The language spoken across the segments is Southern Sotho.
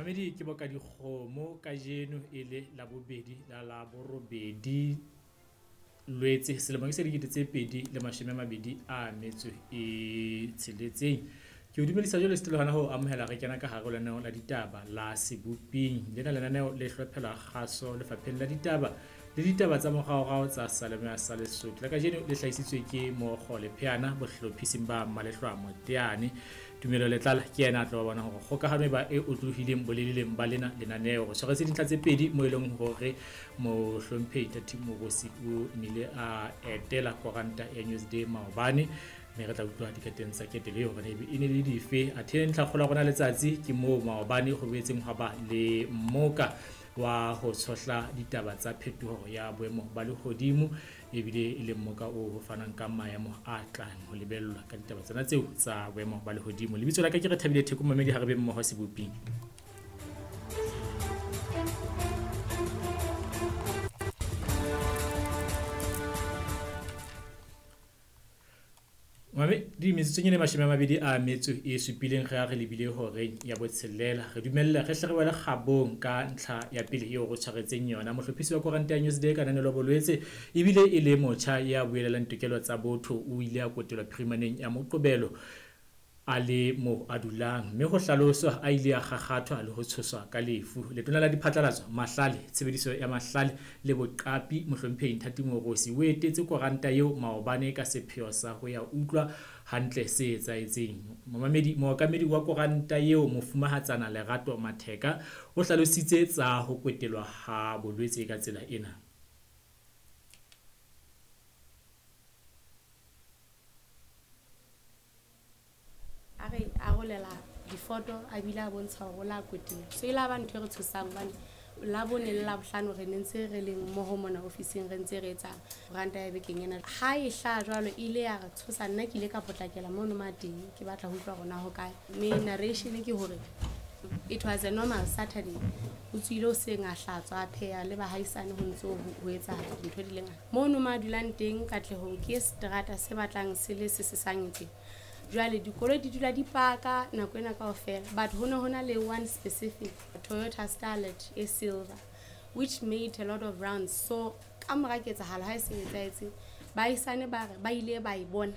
Mamedi ke boka dikgomo kajeno e le Labobedi la Laborobedi Lwetse selemo ke se 2026. Ke o dumedisa jwale setelo hona ho amohela re kena ka hare ho lenaneo la ditaba la Seboping. Lena lenaneo le hlophela kgaso lefapheng la ditaba le ditaba tsa moraorao tsa Salemoya sa Lesotho. La kajeno le hlahisitswe ke Mookgo Lepheana bohlophising ba Malehlwa Moteane. Tumelo Letlala ke yena a tlo ba bona hore kgokahano e ba e otlolohileng boleleleng ba lena lenaneo. Re tshwaretse dintlha tse pedi mo e leng hore mohlomphehi Ntate Mogosi o nile a etela koranta ya Newsday maobane, mme re tla utlwa dikateng tsa ketelo eo hore e ne le dife. Athe ntlhakgolo ya rona letsatsi ke moo maobane ho boetseng hwa ba le mmoka wa ho tshohla ditaba tsa phetoho ya boemo ba lehodimo, ebile e le mmoka o ho fanang ka maemo a tlang ho lebellwa ka ditaba tsena tseo tsa boemo ba lehodimo. Lebitso la ka ke Rethabile Theko, mamedi ha re be mmoho Seboping. Mame di metsotsong e le 27 re a re lebile horeng ya botshelela. Re dumelle re hle re wele kgabong ka ntlha ya pele eo re tshwaretseng yona. Mohlophisi wa koranta ya Newsday Kananelo Bolwetse ebile e le motjha ya buelelang tokelo tsa botho, o ile a kotelwa phirimaneng ya Moqobelo a le moo a dulang, mme ho hlaloswa a ile a kgakgathwa le ho tshoswa ka lefu. Letona la Diphatlalatso, Mahlale, Tshebediso ya Mahlale le Boqapi, Mohlomphehi Nthati Moorosi o etetse koranta eo maobane ka sepheo sa ho ya utlwa hantle se etsahetseng. Momamedi, mookamedi wa koranta eo Mofumahatsana Lerato Matheka o hlalositse tsa ho kwetelwa ha Bolwetse ka tsela ena. A re arolela difoto a bile a bontsha hore o la kwetela. So e la ba ntho e re tshosang hobane Labone le Labohlano re ne ntse re le mmoho mona ofising re ntse re etsa koranta ya bekeng ena. Ha e hlaha jwalo e ile ya re tshosa, nna ke ile ka potlakela mono ma teng ke batla ho utlwa hore na ho kae. Mme narration ke hore it was a normal Saturday. O tswile hoseng a hlatswa a pheha le bahaisane ho ntso ho etsahala dintho di le ngata. Mono ma dulang teng Katlehong ke seterata se batlang se le se sesang tje. Jwale dikoloi di dula di paka nako ena kaofela, but ho ne ho na le one specific Toyota Starlet e silver which made a lot of rounds. So ka mora ketsahalo ha e se etsahetse, baahisane ba re ba ile ba e bona,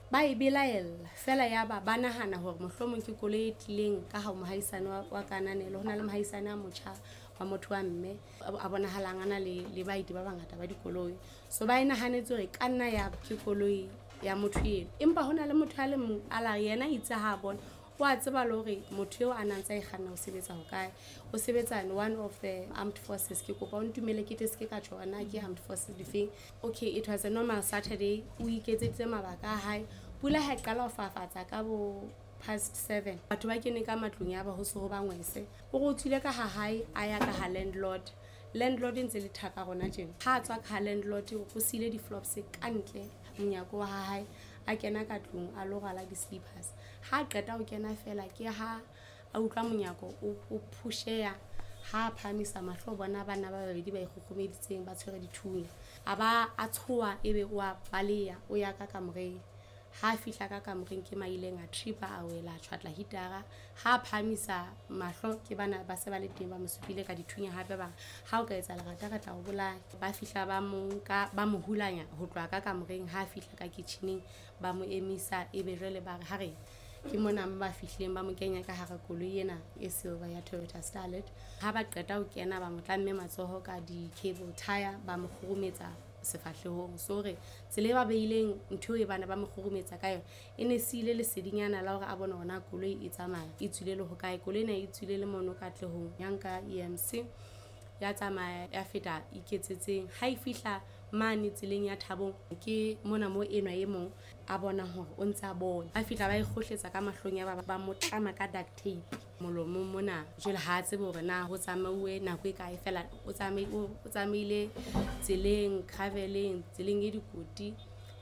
ba e belaella fela, yaba ba nahana hore mohlomong ke koloi e tlileng ka ha mohaisane wa Kananelo. Ho na le mohaisane a motjha wa motho wa mme a bonahalang a na le baeti ba bangata ba dikoloi, so ba e nahanetse hore e ka nna ya ke koloi ya motho eno. Empa ho na le motho a le mong a la re yena itse ha a bona, o a tseba le hore motho eo a nang tsa e kganna o sebetsa hokae, o sebetsa in one of the armed forces. Ke kopa o ntumele ke tle se ke ka tjho hore na ke armed forces difeng. Okay, it was a normal Saturday, o iketseditse mabaka a hae. Pula ha e qala ho fafatsa ka bo 7:30, batho ba kene ka matlong ya ba ho se ho ba ngwese. O re o tswile ka ha hae a ya ka ha landlord. Landlord e ntse le thaka rona tjena. Ha a tswa ka ha landlord o siile di-flops ka ntle monyako wa ha hae, a kena ka tlung a lo rwala di-slippers. Ha a qeta ho kena fela ke ha a utlwa monyako o phusheya. Ha a phahamisa mahlo o bona banna ba babedi ba ikgokgomeditseng ba tshwere dithunya. A ba a tshoha ebe o a baleha o ya ka kamoreng. Ha a fihla ka kamoreng ke maileng a tripa a wela a tjhwatla hitara. Ha a phahamisa mahlo ke bana ba se ba le teng ba mo supile ka dithunya hape ba re ha o ka etsa lerata re tla o bolaya. Ba fihla ba mo nka ba mo hulanya ho tloha ka kamoreng. Ha a fihla ka kitcheneng ba mo emisa ebe jwale ba re ha re ke mona mo ba fihlileng ba mo kenya ka hara koloi ena e silver ya Toyota Starlet. Ha ba qeta ho kena ba mo tlamme matsoho ka di-cable tire ba mo kgurumetsa sefahlehong. So hore tsela e ba beileng ntho e bana ba mo kgurumetsa ka yona e ne siile lesedinyana la hore a bone hore na koloi e tsamaya e tswile le hokae. Koloi ena e tswile le mono Katlehong ya nka EMC ya tsamaya ya feta Iketsetseng. Ha e fihla mane tseleng ya Thabong ke mona mo enwa e mong a bonang hore o ntse a bona. Ba fihla ba e kgohletsa ka mahlong ya ba mo tlama ka duct tape molomong mona. Jwale ha a tsebe hore na ho tsamauwe nako e kae fela, o tsamaile tseleng graveleng, tseleng e dikoti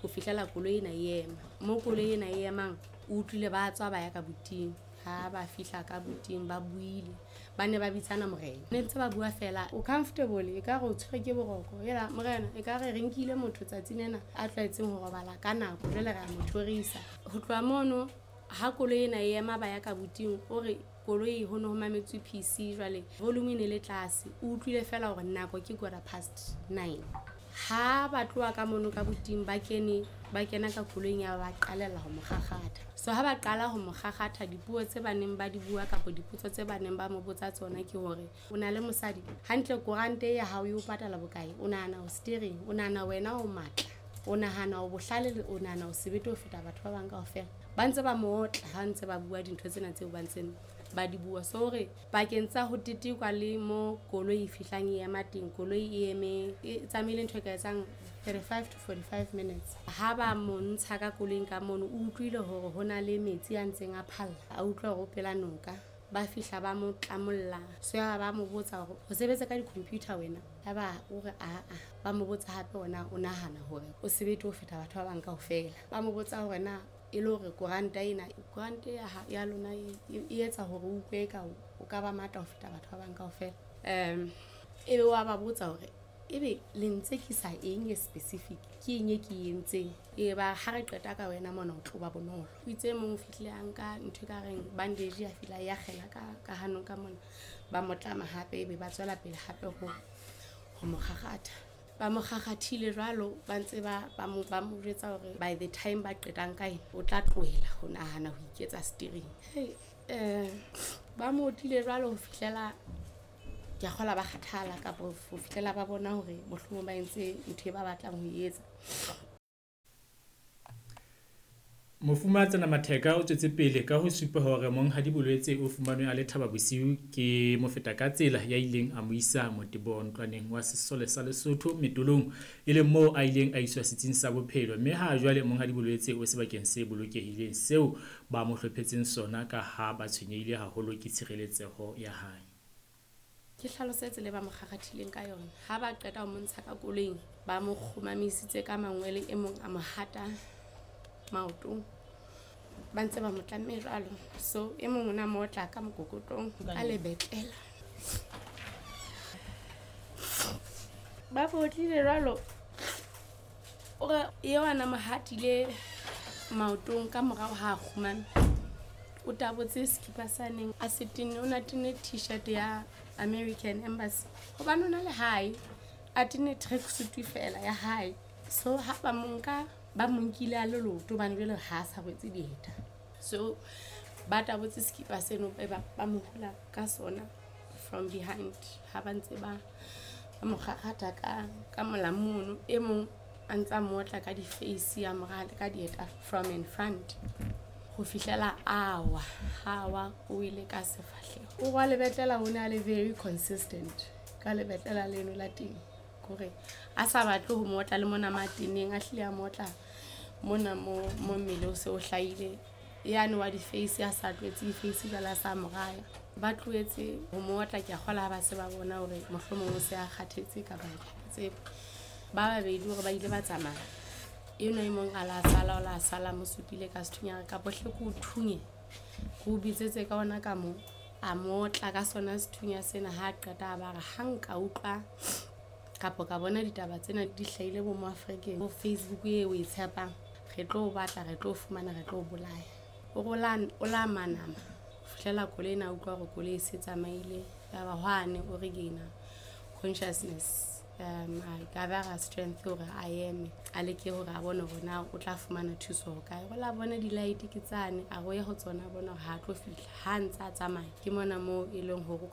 ho fihlela koloi ena e ema. Mo koloi ena e emang o utlwile ba tswa ba ya ka buting. Ha ba fihla ka buting ba buile, ba ne ba bitsana morena. Ne ntse ba bua fela o comfortable e ka re o tshwere ke boroko. Hela morena e ka re re nkile motho tsatsi lena a tlwaetseng ho robala ka nako, jwale re a mo thorisa. Ho tloha mono Ha koloi ena e ema ba ya ka buting, o re koloi ho ne ho mametswe PC, jwale volume e ne le tlase, o utlwile fela hore nako ke 9:15. Ha ba tloha ka mono ka buting ba kene, ba kena ka koloing ya ba qalella ho mo kgakgatha. So ha ba qala ho mo kgakgatha, dipuo tse ba neng ba di bua kapa dipotso tse ba neng ba mo botsa tsona ke hore o na le mosadi, hantle korante ya hao e o patala bokae, o nahana o steering, o nahana wena o matla, o nahana o bohlale, o nahana o sebete ho feta batho ba bang kaofela. Ba ntse ba mo otla ha ntse ba bua dintho tsena tseo ba ntseng ba di bua. So hore pakeng tsa ho tetekwa le mo koloi e fihlang e ema teng, koloi e eme e tsamaile ntho e ka etsang 35 to 45 minutes. Ha ba mo ntsha ka koloing ka mono, o utlwile hore ho na le metsi a ntseng a phalla, a utlwa hore o pela noka. Ba fihla ba mo tlamolla, so ya ba mo botsa hore o sebetsa ka di-computer wena, ya ba o re aa. Ba mo botsa hape ona o nahana hore o sebete ho feta batho ba bang kaofela. Ba mo botsa hore na e le hore koranta ena, koranta ya lona e etsa hore o utlwe eka o ka ba matla ho feta batho ba bang kaofela. Ebe wa ba botsa hore ebe le ntsekisa eng e specific, ke eng e ke e entseng, e ba ha re qeta ka wena mona o tlo ba bonolo. O itse mong o fihlile a nka ntho e ka reng bandage, a fihla ya kgela ka hanong ka mona, ba mo tlama hape, ebe ba tswela pele hape ho mo kgakgatha. Ba mo kgakgathile jwalo, ba ntse ba mo jwetsa hore by the time ba qetang ka ena o tla tlohela ho nahana ho iketsa steering. Ba mo otlile jwalo ho fihlela ke a kgola ba kgathala, kapa ho fihlela ba bona hore mohlomong ba entse ntho e ba batlang ho e etsa. Mofumahatsana Matheka o tswetse pele ka ho supa hore Monghadi Bolwetse o fumanwe a le Thaba Bosiu ke mofeta ka tsela ya ileng a mo isa motebong ntlwaneng wa sesole sa Lesotho Metolong, e leng moo a ileng a iswa setsing sa bophelo, mme ha jwale Monghadi Bolwetse o sebakeng se bolokehileng seo ba mo hlophetseng sona ka ha ba tshwenyehile haholo ke tshireletseho ya hae. Ke hlalosetse le ba mo kgakgathileng ka yona. Ha ba qeta ho mo ntsha ka koloing, ba mo kgomamisitse ka mangwele, e mong a mo hata maotong, ba ntse ba mo tlamme jwalo. So e mong o na mo otla ka mokokotlong ka lebetlela. Ba fotlile jwalo, o re eo a na mo hatile maotong ka morao ha a kgumame, o tabotse sekipa sa neng a se tenne, o na tenne t-shirt ya American Embassy hobane o na le hae, a tenne tracksuit fela ya hae. So ha ba mo nka, ba mo nkile a le leoto hobane jwale ha a sa rwetse dieta. So ba tabotse sekipa seno, ba mo hula ka sona from behind ha ba ntse ba mo kgakgatha ka molamu mono. E mong a ntse a mo otla ka di-face, a mo raha ka dieta from in front ho fihlela a wa. Ha wa, o ile ka sefahleho. O wa lebetlela o ne a le very consistent ka lebetlela leno la teng, kore a sa batle ho mo otla le mona mateneng, a hlile a mo otla mona mo mmele o se o hlahile. Yane wa di-face a sa tlwaetse di-face jwale a sa mo raya. Ba tlohetse ho mo otla, ke a kgola ha ba se ba bona hore mohlomong o se a kgathetse kapa tsebo. Ba babedi hore ba ile ba tsamaya, enwa e mong a la sala, o la sala mo supile ka sethunya, kapa hle ke o thunye, ke o bitsetse ka ona ka mo, a mo otla ka sona sethunya sena. Ha qeta a ba re ha nka utlwa kapa ka bona ditaba tsena di hlahile bo mo Afrikeng, bo Facebook e o e tshepang, re tlo o batla, re tlo o fumana, re tlo o bolaya. O la manama ho fihlela koloi ena a utlwa hore koloi e se tsamaile. Ya ba hwane o re kena consciousness, a gather strength hore a eme, a leke hore a bone hore na o tla fumana thuso ho kae. O la bona di-light ke tsane, a re o ye ho tsona, a bona hore ha a tlo fihla. Ha ntse a tsamaya ke mona moo e leng hore